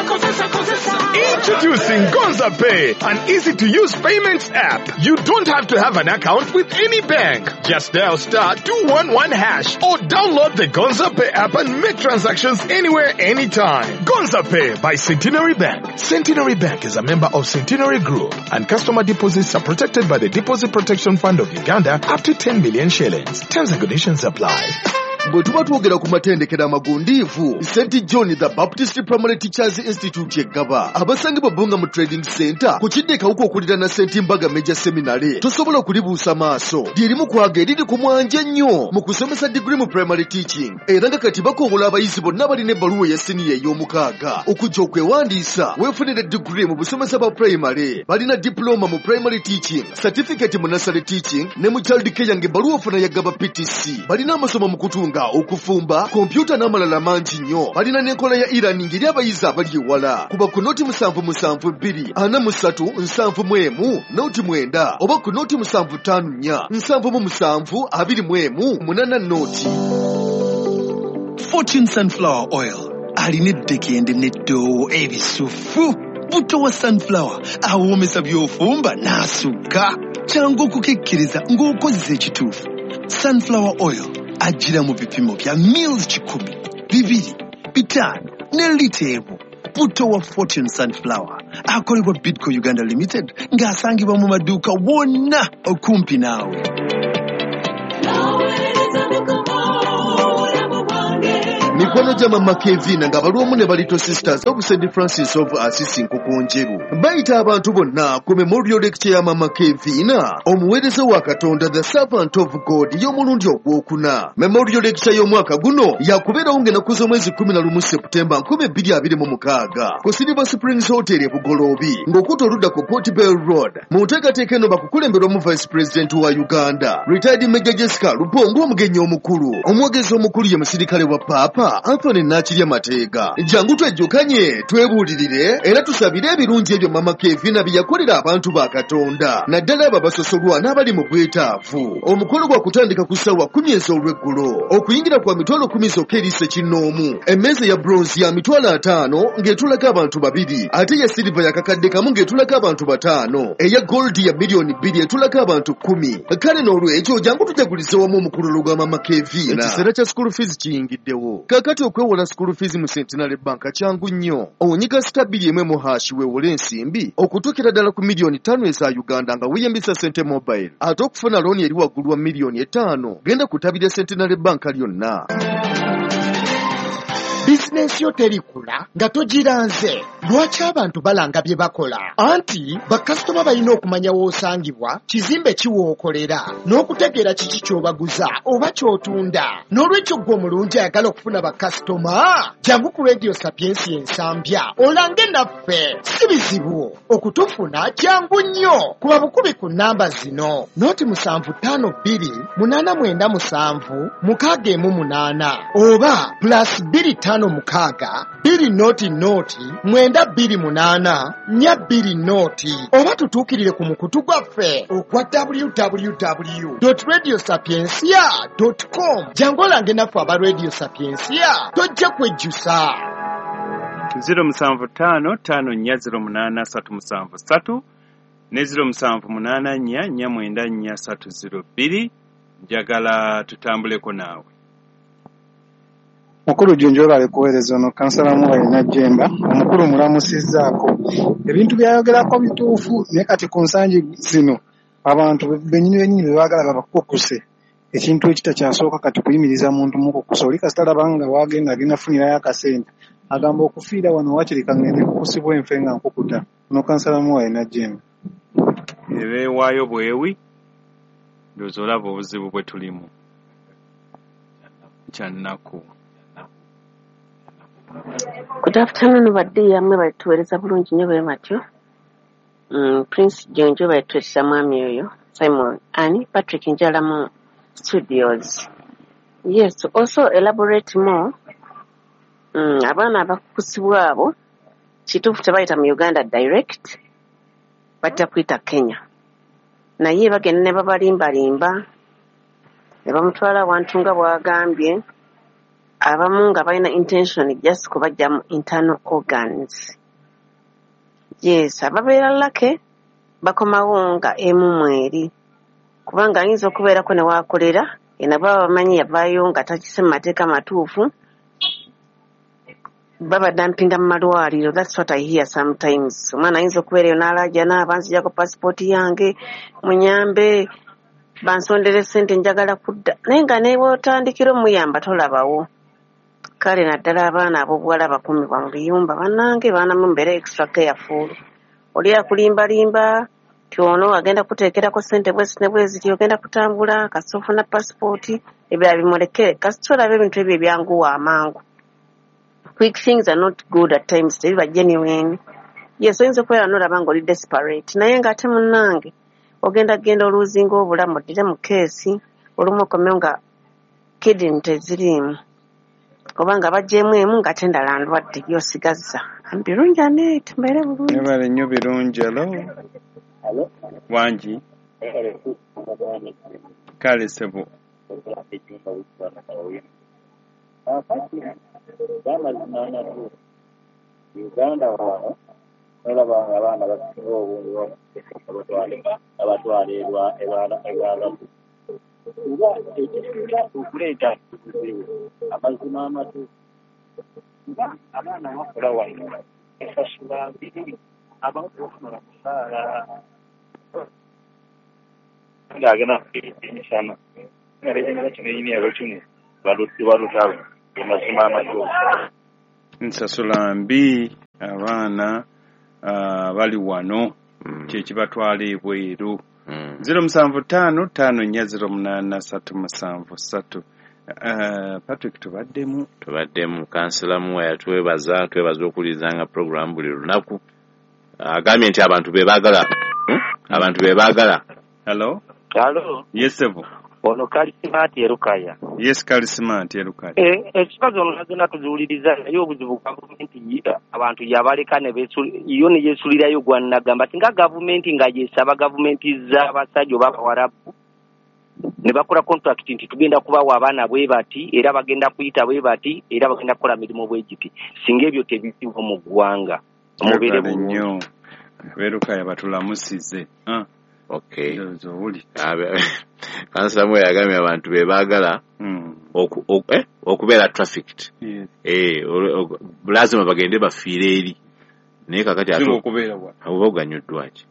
Introducing Gonza Pay, an easy-to-use payments app. You don't have to have an account with any bank. Just dial *211# or download the Gonza Pay app and make transactions anywhere, anytime. Gonza Pay by Centenary Bank. Centenary Bank is a member of Centenary Group, and customer deposits are protected by the Deposit Protection Fund of Uganda up to 10 million shillings. Terms and conditions apply. Bwe tuba twogera ku matendekero amagundiivu, St John the Baptist Primary Teachers Institute eggaba abasangibwa Bbunga mu Trading Center ku kidde Kawuka okuliraana St Mbaga Major Seminary, tosobola kulibuusa maaso. Lyerimu kwaga eriri ku mwanje ennyo mu kusomesa digiri mu primary teaching, era nga kati bakowola abayizi bonna balina ebbaluwa eya siniya ey'omukaaga okujja okwewandiisa weefunire digiri mu busomesa bwa primary. Balina diploma mu primary teaching, certificate mu nursery teaching ne mu child care, ng'ebbaluwa ofuna ya Gaba PTC. Balina amasomo mu kutunga, okufumba, kompyuta n'amalala mangi nnyo. Balina n'enkola ya e-learning eri abayizi abali ewala. Kuba ku 077 243 71 09 oba ku 0754 77 21 80. Fortune Sunflower Oil alina eddekende n'eddoowo ebisufu. Buto wa sunflower awoomesa by'ofumba n'asukka. Kyangu okukekkeriza ng'okozesa ekituufu. Sunflower Oil ajjira mu bipimo bya mils 100, 200, 500 ne lita emu. Buto wa Fortune Sunflower akolebwa Bidco Uganda Limited ng'asangibwa mu maduuka wonna okumpi naawe. Mikono gya Mama Kevina nga balwomu ne Little Sisters of St Francis of Assisi Nkokonjeru bayita abantu bonna ku memorial lecture ya Mama Kevina, omuweereza wa Katonda, the servant of God, y'omulundi ogwokuna. Memorial lecture y'omwaka guno yakubeerawo ng'ennaku z'omwezi 11 Septemba 2026 ku Silver Springs Hotel e Bugoloobi ng'okutta oludda ku Port Bell Road. Mu nteekateeka eno bakukulemberwamu Vice President wa Uganda, Retired Major Jessica Alupo, ng'omugenyi omukulu. Omwogezi omukulu ye musirikale wa Paapa Anthony Nakirya Mateega. Jangu twejjukanye, twebuulirire era tusabire ebirungi ebyo Mama Kevina bye yakolera abantu ba Katonda, naddala abo abasosolwa n'abali mu bwetaavu. Omukolo gwa kutandika ku ssaawa 10 ez'olweggulo. Okuyingira kwa 10,000 zokka eri ssekinnoomu. Emmeeza ya bronze ya 50,000 ng'etulako abantu 2, ate eya silver ya 1,000 ng'etulako abantu 5, eya gold ya 2,000,000 etulako abantu 10. Kale n'olwekyo jangu tujagulize wamu omukululo gwa Mama Kevina. Ekiseera kya school fees kiyingiddewo. Kaakati okwewola school fees mu Centenary Bank kyangu nnyo. Onyiga *2 1# weewole ensimbi okutuukira ddala ku 5,000,000 eza Uganda nga weeyambisa Sente Mobile. Ate okufuna looni eri waggulu wa 5,000,000, genda ku ttabi lya Centenary Bank lyonna. Bizinensi yo terikula nga togiranze. Lwaki abantu balanga bye bakola? Anti bakasitoma balina okumanya w'osangibwa, kizimbe ki w'okolera, n'okutegeera kiki ky'obaguza oba ky'otunda. N'olwekyo ggwe omulungi ayagala okufuna bakasitoma, jangu ku Radio Sapiensia Ensambya olange naffe. Si bizibu okutufuna, kyangu nnyo. Kuba bukubi ku nnamba zino: 0752 897 618 oba +256 200 928 420, oba tutuukirire ku mukutu gwaffe ogwa www.radiosapiencia.com. Jangu olange naffe aba Radio Sapiencia, tojja kwejjusa. 075 5408 373 ne 0784 494 302. Njagala tutambuleko naawe. Mukulu Junju, webale kuweereza. Ono kansala Muwayi Najjemba. Omukulu mulamusizzaako. Ebintu byayogerako bituufu, naye kati ku nsangi zino abantu bennyini bennyini be baagala babakukuse, ekintu ekitakyasooka kati kuyimiriza muntu mukukusa. Oli kasita alaba nga wagenda agenda funirayo akasente, agamba okufiira wano wakiri kaŋŋende kukusibwa enfe nga nkukuta. Ono kansala Muwayi Najjemba. Ebeewaayo bwewi, ndowooza olaba obuzibu bwe tulimu. Kyannaku. Good afternoon, badde yammwe balituweereza bulungi nnyo bwe batyo. Prince Jonjo balituweereza, mwami oyo Simon ani Patrick Njala mu studios. Yes, to also elaborate more, abaana abakukusibwa abo kituufu tebayita mu Uganda direct, bajja kuyita Kenya. Naye bagenda ne babalimbalimba ne bamutwala awantu nga bw'agambye. Abamu nga balina intention just kubajjamu internal organs. Yes, ababeera lucky bakomawo nga emu mweri, kubanga ayinza okubeerako ne waakolera ena baba bamanyi yavaayo nga takise mu mateeka matuufu, babadampinga mu malwaliro. That's what I hear sometimes. Omwana ayinza okubeera eyo n'alaajana, banzijako pasipooti yange, munyambe bansondere ssente, njagala kudda, naye nga nebwotandikira omuyamba tolabawo. Kale naddala abaana ab'obuwala bakuumibwa mu biyumba, bannange baana mu mbeera extra careful. Oli akulimbalimba ti ono agenda kuteekerako ssente bwezi ne bweziti, ogenda kutambula kasita ofuna pasipooti, ebirala bimulekere. Kasita olaba ebintu ebyo ebyanguwa amangu, quick things are not good at times, tebiba genuine. Yes, oyinza okubeera nolaba ng'oli desperate, naye ng'ate munnange ogenda genda oluuzinga obulamu, oddire mu keesi olumu okomewo nga kidney teziriimu, oba nga baggyemu emu ng'ate endala ndwadde by'osigazza. Birungi aneeti mbeere bulungi. Mwebale nnyo Birungi. Alo, wangi? Kale ssebo. Amazima amatuufu, Uganda wano nolaba nga abaana basinga obungi babatwala ebwalabu, kuba ekisinga okuleeta obuzibu, amazima amatuufu, kuba abaana bakola wano esasula mbiri, abamu tebafuna musaala ng'agenda emisana nga kino erina kimu balutalo, amazima amatuufu. Nsasula mbi, abaana bali wano, kyekibatwala ebweru. 075 5 4 08 373. Patrick, tubaddemu. Tubaddemu. Kansala Muwaya twebaza, twebaza okuwulirizanga puroguramu buli lunaku. Agambye nti abantu be baagala, abantu be baagala. Hello. Hello. Yes, sebo. Ono Kalisimati Erukaya. Yes, Kalisimati Erukaya. Ekikazi ono zonna tuziwuliriza, naye obuzibu gavumenti abantu yabaleka ne yo ne yeesulirayo gwannagamba singa gavumenti nga yesaba gavumenti z'abasajja oba abawarabu ne bakola contract nti tugenda kubawa abaana bwe bati, era bagenda kuyita bwe bati, era bagenda kukola mirimu bwe giti, singa ebyo tebiriwo mu ggwanga. Mubeere bulungi. Nnyo Berukaya batulamusize. Okay. Ndowooza owulidde. Kansala Muwaya yagambye abantu be baagala okubeera trafficked. Yes. Lazima bagende bafiire eri, naye kakati ate Singa okubeera wano. Oba oganyuddwa ki?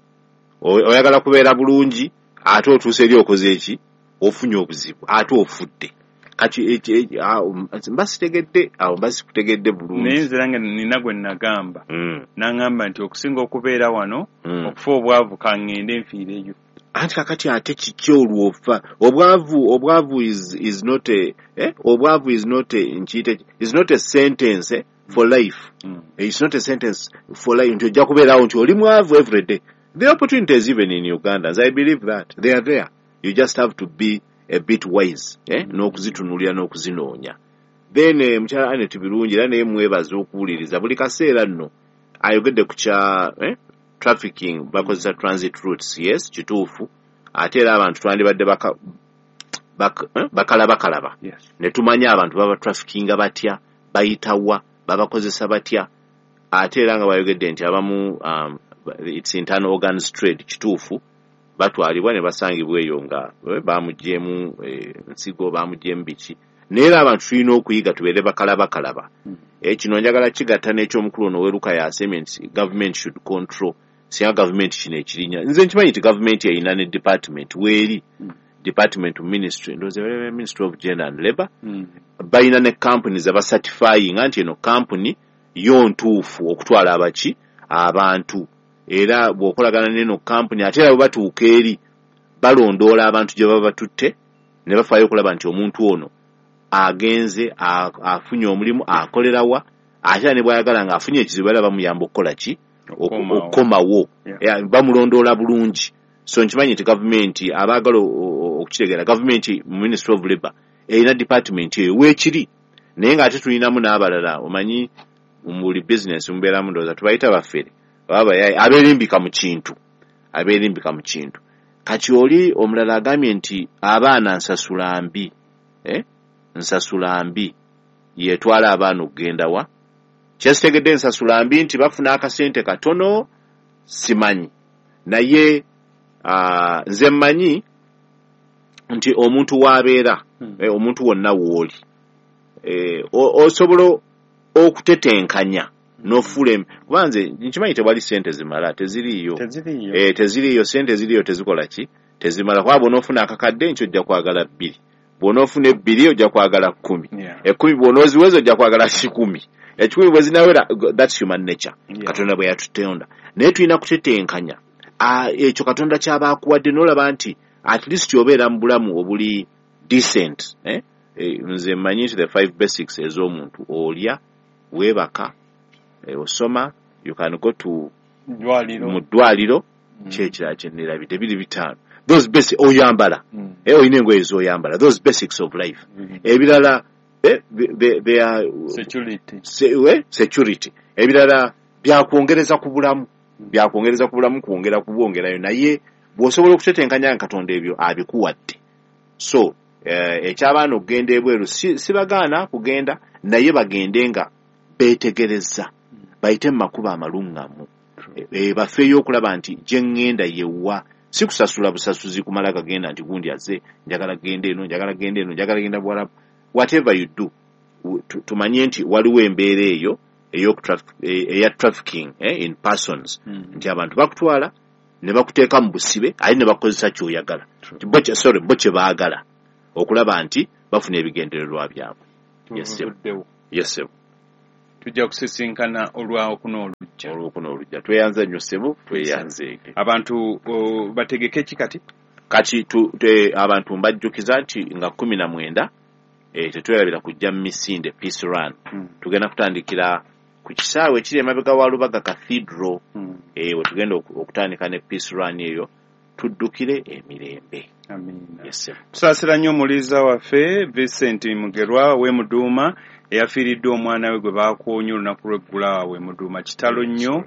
Oyagala kubeera bulungi, ate otuuse eri okoze eki? Ofunye obuzibu, ate ofudde. Kati mba sitegedde awo, mba sikutegedde bulungi. Naye nze nange nina gwe nagamba, n'aŋŋamba nti okusinga okubeera wano okufa obwavu, kaŋŋende nfiireyo. Anti kakati ate kiki olwo ofa obwavu? Obwavu is not a obwavu is not a nkiyite, is not a sentence for life. It's not a sentence for life nti ojja kubeerawo nti oli mwavu every day. The opportunities even in Uganda, as I believe that they are there, you just have to be a bit wise, n'okuzitunuulira n'okuzinoonya. Then mukyala Anet Birungi era naye mwebaza okuwuliriza buli kaseera. Nno ayogedde ku kya trafficking, bakozesa transit routes. Yes, kituufu. Ate era abantu twandibadde bakalabakalaba ne tumanya abantu baba traffickinga batya, bayitawa, babakozesa batya. Ate era nga bayogedde nti abamu it's internal organs trade, kituufu, batwalibwa ne basangibwa eyo nga bamugyemu nsigo, bamugyemu biki. Naye era abantu tulina okuyiga tubeere bakalabakalaba. Kino njagala kigatta n'ekyomukulu ono Weruka yasemye nti government should control. Singa gavumenti kino ekirinya, nze nkimanyi nti gavumenti erina ne department, weeri department ministry, ndowooza Ministry of Gender and Labor, balina ne companies abacertifyinga nti eno company yo ntuufu okutwala abaki abantu, era bw'okolagana n'eno company, ate era bwe batuuka eri balondoola abantu gye baba batutte ne bafaayo okulaba nti omuntu ono agenze afunye omulimu, akolerawa, ate era ne bw'ayagala ng'afunye ekizibu era bamuyamba okukola ki? Okukomawo. Bamulondoola bulungi. So nkimanyi nti gavumenti, abaagala okukitegeera, gavumenti mu Ministry of Labor erina department eyo weekiri, naye ng'ate tulinamu n'abalala. Omanyi mu buli business mubeeramu, ndowooza tubayita baffere oba bayaye abeerimbika mu kintu, abeerimbika mu kintu. Kati oli omulala agambye nti abaana nsasula mbi, nsasula mbi. yetwala abaana okugenda wa. Kyesitegedde ensasula mbi nti bafuna akasente katono, simanyi. Naye nze mmanyi nti omuntu w'abeera, omuntu wonna w'oli, osobola okutetenkanya n'ofuula, kuba nze nkimanyi tewali ssente zimala, teziriiyo. Teziriiyo, ssente ziriyo tezikola ki? Tezimala. Kuba bw'onoofuna akakadde nkyo ojja kwagala 2, bw'onoofuna 2 ojja kwagala 10, 10 bw'onooziweza ojja kwagala 100, 100 bwe zinawera. That's human nature. Katonda bwe yatutonda. Naye tulina kutetenkanya ekyo Katonda ky'aba akuwadde n'olaba nti at least obeera mu bulamu obuli decent. Nze mmanyi nti the 5 basics ez'omuntu: olya, weebaka, osoma, you can go to mu ddwaliro, kyekirala kyenneerabidde, biri 5. Those basic, oyambala, olina engoye z'oyambala, those basics of life. Ebirala they are security. Ebirala byakwongereza ku bulamu, byakwongereza ku bulamu, kwongera kubwongerayo. Naye bw'osobola okutetenkanya nga Katonda ebyo abikuwadde. So ekyabaana okugenda ebweru sibagaana kugenda, naye bagende nga beetegereza, bayite mu makubo amaluŋŋamu, bafeeyo okulaba nti gye ŋŋenda yewa, si kusasula busasuzi kumala gagenda nti gundi azze, njagala genda eno, njagala genda eno, njagala genda Buwarabu. Whatever you do, tumanye nti waliwo embeera eyo eya trafficking in persons, nti abantu bakutwala ne bakuteeka mu busibe, ate ne bakukozesa ky'oyagala, bo kye baagala okulaba nti bafuna ebigendererwa byabwe. Yes, sir. Tujja kusisinkana olwokuna olujja. Olwokuna olujja. Tweyanze nnyo ssebo, tweyanzeeke. Abantu bategeke ki kati? Kati abantu mbajjukiza nti nga 19 tetwerabira kujja mu misinde Peace Run. Tugenda kutandikira ku kisaawe ekiri emabega wa Lubaga Cathedral. We tugenda okutandika ne Peace Run eyo, tuddukire emirembe. Amiina. Yes, tusaasira nnyo omuliza waffe Vincent Mugerwa w'e Muduuma, eyafiiriddwa omwana we gwe baakoonya olunaku lw'eggulu awo e Muduuma. Kitalo nnyo.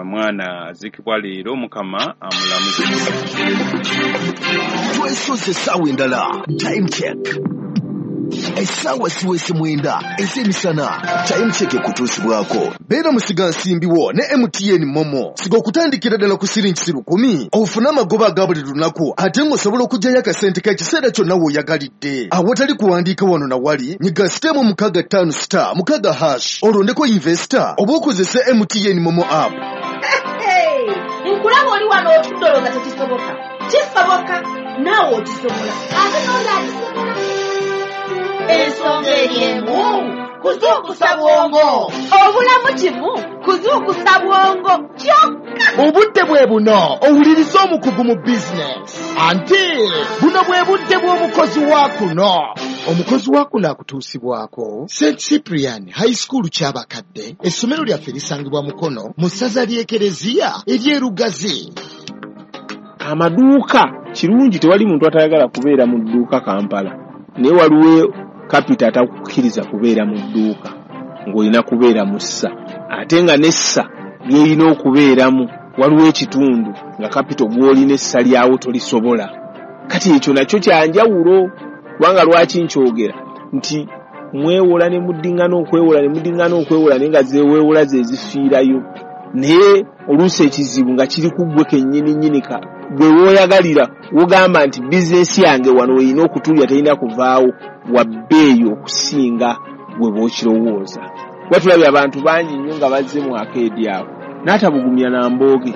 Mwana aziikibwa leero, Mukama amulamuze. Twesoze essaawa endala. Time check. Essaawa siwese 9 ez'emisana. Time check ekutuusibwako. Beera musigansimbi wo ne MTN Momo. Siga okutandikira ddala ku siringi 1,000 ofune amagoba aga buli lunaku, ate ng'osobola okuggyayo akasente k'ekiseera kyonna w'oyagalidde. Awatali kuwandiika wano na wali, nyiga *656*6# olondeko investor oba okozese MTN Momo app. Nkulaba oli wano otudde olowooza tekisoboka. Kisoboka, naawe okisobola, ate n'oli akisobola. Ensonga eri emu, kuzuukusa bwongo. Obulamu kimu, kuzuukusa bwongo kyokka. Obudde bwe buno owuliriza omukugu mu bizinesi. Anti buno bwe budde bw'omukozi wa kuno. Omukozi wa kuno akutuusibwako St Cyprian High School Kyabakadde. Essomero lyaffe lisangibwa Mukono mu ssaza ly'Ekereziya ery'Erugazi. Amaduuka kirungi, tewali muntu atayagala kubeera mu dduuka Kampala, naye waliwo kapita atakukkiriza kubeera mu dduuka ng'olina kubeera mu ssa, ate nga n'essa ly'erina okubeeramu waliwo ekitundu nga kapito gw'olina essa lyawo tolisobola. Kati ekyo nakyo kyanjawulo, kubanga lwaki nkyogera nti mwewola ne muddiŋŋana okwewola ne muddiŋŋana okwewola, naye nga zeweewola ze zifiirayo. Naye oluusi ekizibu nga kiri ku ggwe kennyini nnyini, gwe w'oyagalira wogamba nti bizinesi yange wano erina okutulya terina kuvaawo, wa bbeeyi okusinga gwe bw'okirowooza. Kuba tulabye abantu bangi nnyo nga bazze mu akeedi awo n'atabugumya na mbooge,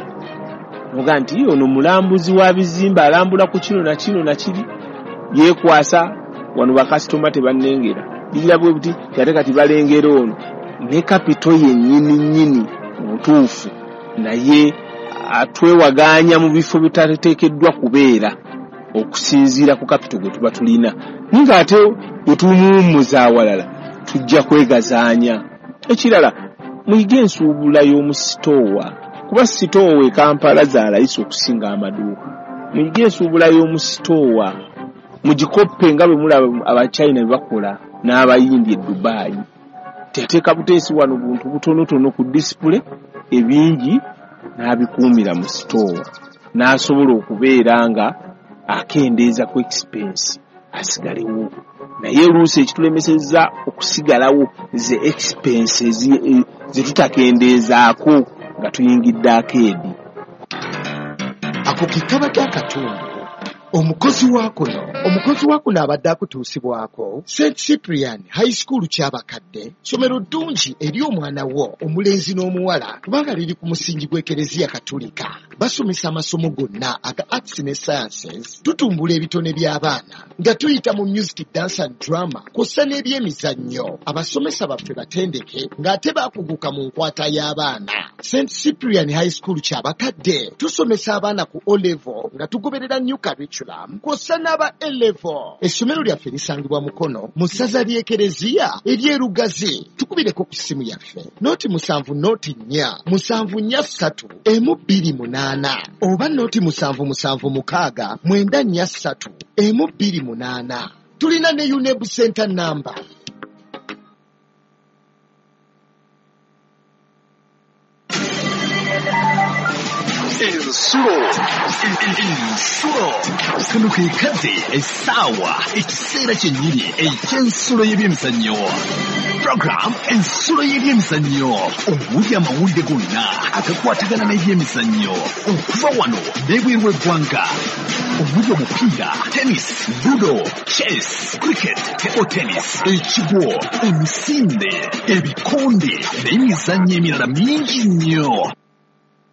noga nti ono mulambuzi wa bizimbe, alambula ku kino na kino na kiri, yeekwasa wano bakasitoma tebannengera bigira bwe buti, ate kati balengera ono ne kapito yennyini nnyini mutuufu, naye atwewagaanya mu bifo bitateekeddwa kubeera okusinziira ku kapito gwe tuba tulina. Naye ng'ate bwe tumuwummuza awalala tujja kwegazaanya. Ekirala, muyige ensuubula y'omu sitoowa, kuba sitoowa e Kampala za layisi okusinga amaduuka. Muyige ensuubula y'omu sitoowa, mugikoppe nga bwe mulaba Abachina bwe bakola n'Abayindi e Dubai. Teteeka buteesi wano buntu butonotono ku disipule, ebingi n'abikuumira mu sitoowa, n'asobola okubeera nga akendeeza ku expense. asigalewo. Naye oluusi ekitulemesezza okusigalawo ze expenses ze tutakendeezaako nga tuyingidde akeedi. Ako ke kabadde akatundu omukozi wa kuno. Omukozi wa kuno abadde akutuusibwako St Cyprian High School Kyabakadde, ssomero ddungi eri omwana wo omulenzi n'omuwala kubanga liri ku musingi gw'Ekereziya Katulika. Basomesa amasomo gonna aga arts ne sciences, tutumbula ebitone by'abaana nga tuyita mu music, dance and drama kw'ossa n'ebyemizannyo. Abasomesa baffe batendeke ng'ate baakuguka mu nkwata y'abaana. St Cyprian High School Kyabakadde tusomesa abaana ku O level nga tugoberera new curriculum kw'ossa n'aba A level. Essomero lyaffe lisangibwa Mukono mu ssaza ly'Ekereziya ery'e Lugazi. Tukubireko ku ssimu yaffe 0 7 0 4 7 4 3 1 2 8 oba 0 7 7 6 9 4 3 1 2 8. Tulina ne UNEB Center number. Ensulo, ensulo, kano ke kadde, essaawa, ekiseera kyennyini eky'ensulo y'ebyemizannyo. Program Ensulo y'ebyemizannyo, omuli amawulire gonna agakwatagana n'ebyemizannyo okuva wano n'ebweru w'eggwanga, omuli omupiira, tennis, ludo, chess, cricket, table tennis, ekigwo, emisinde, ebikonde n'emizannyo emirala mingi nnyo.